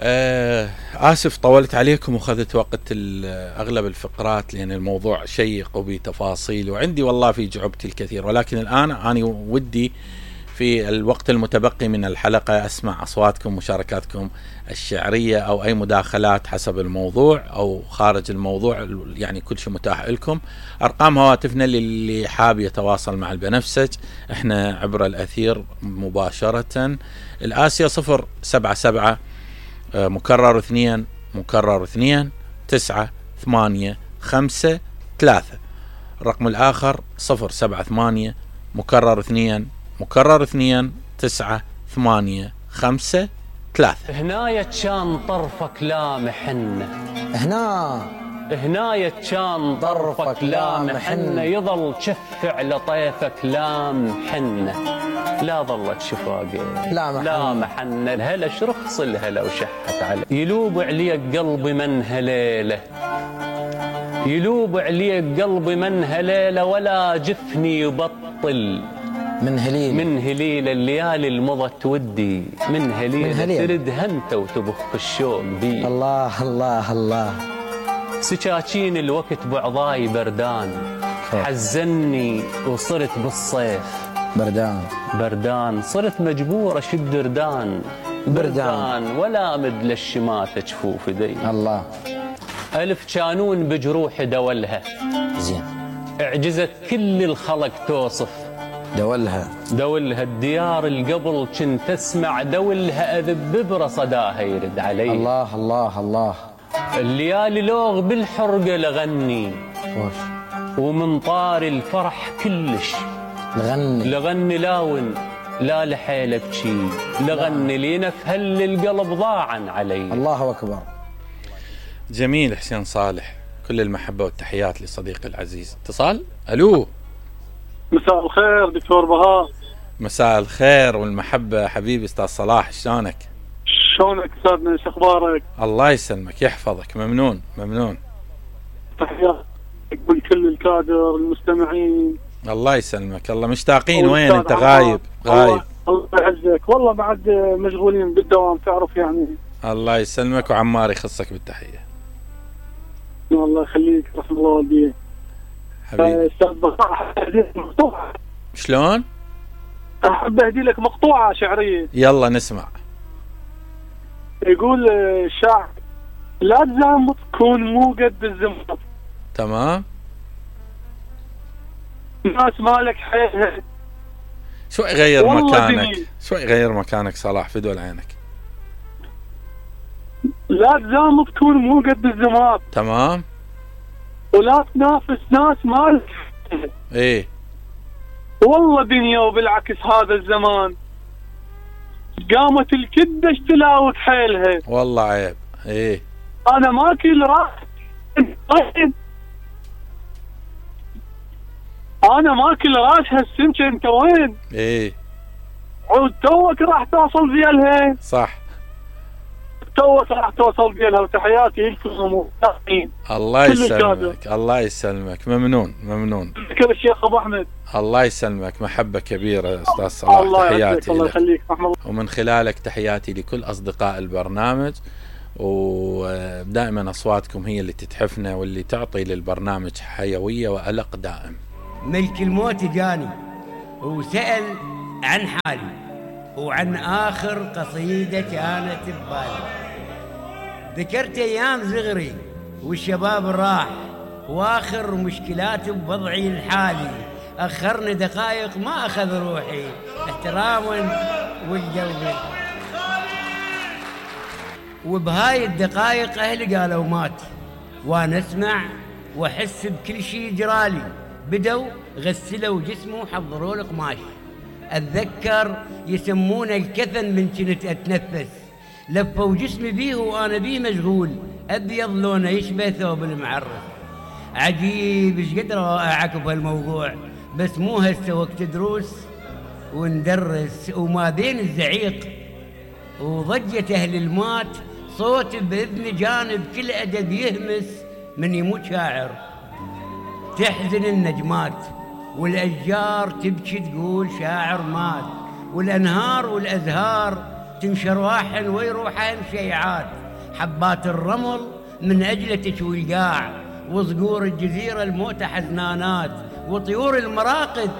آسف طولت عليكم وخذت وقت أغلب الفقرات، لأن الموضوع شيق وبتفاصيل وعندي والله في جعبتي الكثير، ولكن الآن أنا ودي في الوقت المتبقي من الحلقة أسمع أصواتكم ومشاركاتكم الشعرية أو أي مداخلات حسب الموضوع أو خارج الموضوع، يعني كل شيء متاح لكم. أرقام هواتفنا للي حاب يتواصل مع البنفسج، احنا عبر الأثير مباشرة. الآسيا 077 مكرر 2 مكرر 2 9 8 5 3. الرقم الآخر 078 مكرر 2 مكرر 2 9 8 5 3. هنايا كان طرفك لامحن، هنايا كان طرفك لامحن، يظل شف على طيفك لامحن، لا ظلت شفاقه لامحن. الهلا شرخص الهلا وشحت عليه، يلوب عليك قلبي من هليله، يلوب عليك قلبي من هليله، ولا جفني يبطل من هليله الليالي المضت ودي، من هليله ترد هنت وتبخ الشوق بي. الله الله الله. سكاكين الوقت بعضاي بردان، حزني وصرت بالصيف بردان، صرت مجبور اشد بردان ولا مد للشماتة جفوف دي. الله. ألف كانون بجروح دولها، زين اعجزت كل الخلق توصف دولها الديار القبل كنت اسمع دولها اذب برصداها يرد علي. الله الله الله. الليالي لوغ بالحرقة لغني ومن طار الفرح كلش لغني لاون لا لحيل ابكي، لغني لينا في هل القلب ضاعا علي. الله اكبر. جميل حسين صالح، كل المحبة والتحيات لصديقي العزيز. اتصال. الو. مساء الخير دكتور بهاء. مساء الخير والمحبة حبيبي استاذ صلاح، شلونك استاذنا، ايش اخبارك؟ الله يسلمك يحفظك، ممنون تحيات لكل الكادر المستمعين. الله يسلمك، الله مشتاقين. وين انت غايب؟ الله يعزك، والله بعد مشغولين بالدوام تعرف يعني. الله يسلمك وعمار يخصك بالتحية. الله يخليك، رحم الله والديك حبيبي. استاذ بهاء احب اهدي لك مقطوعة. شلون؟ احب اهدي لك مقطوعة شعرية. يلا نسمع. يقول الشاعر: لا تزامط كون مو قد الزمط. تمام. ناس مالك حيلها. شوي غير مكانك صلاح فدول عينك. لا تزامط كون مو قد الزمط. تمام. ولا تنافس ناس مالك حيلها. ايه والله دنيا وبالعكس هذا الزمان قامت الكدة اشتلاوك حيلها. والله عيب. ايه انا ماكل راس، انا ماكل راس هالسمكة، انت وين؟ ايه عود توك راح توصل فيها. صح، توك راح توصل فيها. وتحياتي لكم. الله يسلمك الله يسلمك. ممنون ذكر الشيخ ابو احمد. الله يسلمك، محبة كبيرة استاذ صلاح. الله تحياتي الله يخليك. ومن خلالك تحياتي لكل اصدقاء البرنامج، ودائما اصواتكم هي اللي تتحفنا واللي تعطي للبرنامج حيوية وألق دائم. ملك الموت جاني وسأل عن حالي وعن آخر قصيدة كانت ببالي، ذكرت أيام صغري والشباب راح، وآخر مشكلات بوضعي الحالي، أخرني دقائق ما أخذ روحي احتراما والقلب، وبهاي الدقائق أهلي قالوا مات، وأنا أسمع وأحس بكل شيء جرالي، بدوا غسلوا جسمه وحضروا لي قماش، أتذكر يسمونه الكفن من كنت أتنفس، لفوا جسمي بيه وأنا بيه مشغول، أبيض لونه يشبه ثوب المعرس. عجيب إيش قد رائعك بهالموضوع، بس مو هسه وقت دروس وندرس، وما بين الزعيق وضجة أهل المات صوت بإذن جانب كل أدب يهمس من يموت شاعر. تحزن النجمات والأشجار تبكي تقول شاعر مات، والأنهار والأزهار تنشر واحن ويروحن شيعات، حبات الرمل من أجله تشوي القاع، وصقور الجزيرة الموتى حزنانات، وطيور المراقد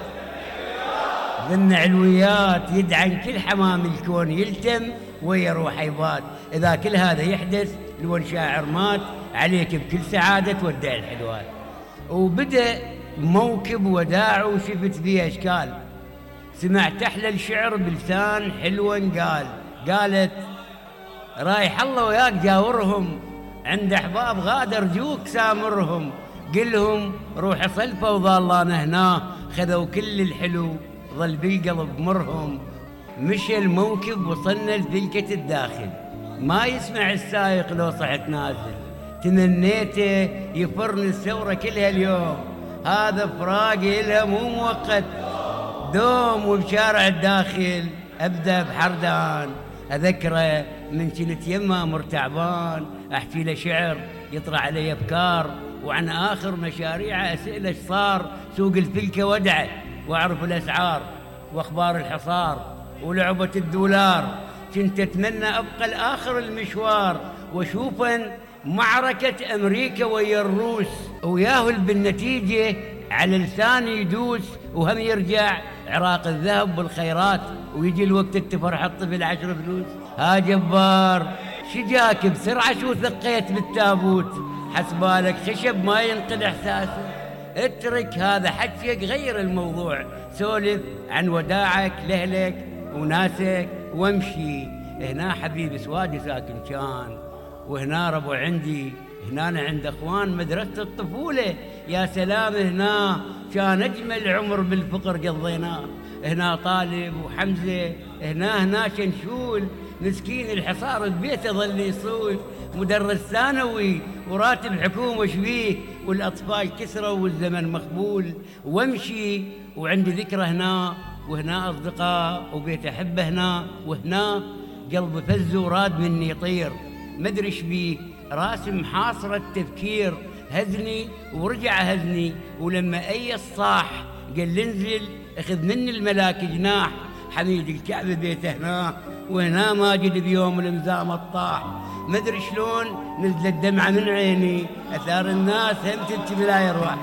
ذن علويات، يدعن كل حمام الكون يلتم ويا روح يبات. إذا كل هذا يحدث لو شاعر مات، عليك بكل سعادة تودع الحلوات. وبدأ موكب وداع وشفت فيه أشكال، سمعت أحلى الشعر بلسان حلوة قالت رايح الله وياك جاورهم، عند أحباب غادر جوك سامرهم، قلهم روح صلفة وظلنا هنا، خذوا كل الحلو ظل بالقلب مرهم. مشى الموكب وصلنا لذلكة الداخل، ما يسمع السايق لو صحت نازل، تمنيته يفرن الثورة كلها اليوم، هذا فراقي إلها مو مؤقت دوم. وبشارع الداخل أبدأ بحردان، أذكره من كنت يما مرتعبان، أحكي له شعر يطلع علي أفكار، وعن آخر مشاريعه أسئلة ايش صار، سوق الفلكة ودعه وأعرف الأسعار وأخبار الحصار ولعبة الدولار. كنت أتمنى أبقى لآخر المشوار وأشوفن معركة أمريكا ويا الروس، وياهل بالنتيجة على لساني يدوس، وهم يرجع عراق الذهب بالخيرات، ويجي الوقت التفرح الطفل 10 فلوس. ها جبار شجاك بسرعة شو ثقيت بالتابوت، حسبالك خشب ما ينقل إحساسه، اترك هذا حكيك غير الموضوع، سولف عن وداعك لأهلك وناسك وامشي. هنا حبيبي سوادي ساكن كان، وهنا ربو عندي، هنا أنا عند أخوان مدرسة الطفولة، يا سلام هنا كان أجمل عمر بالفقر قضيناه، هنا طالب وحمزة، هنا شنشول مسكين الحصار ببيته ظل يصول، مدرس ثانوي وراتب حكومة شبيه، والأطفال كسروا والزمن مخبول. وامشي وعندي ذكرى هنا، وهنا أصدقاء وبيت أحبه هنا، وهنا قلبي فز وراد مني يطير، مدري ايش بيه راسم حاصر التفكير، هزني ورجع هزني، ولما أي الصاح قال انزل اخذ مني الملاك جناح، حميد الكعبة بيته هنا، وهنا ماجد بيوم الامزام الطاح، مدري شلون نزلت دمعة من عيني، أثار الناس هم تبكي بلا يروح.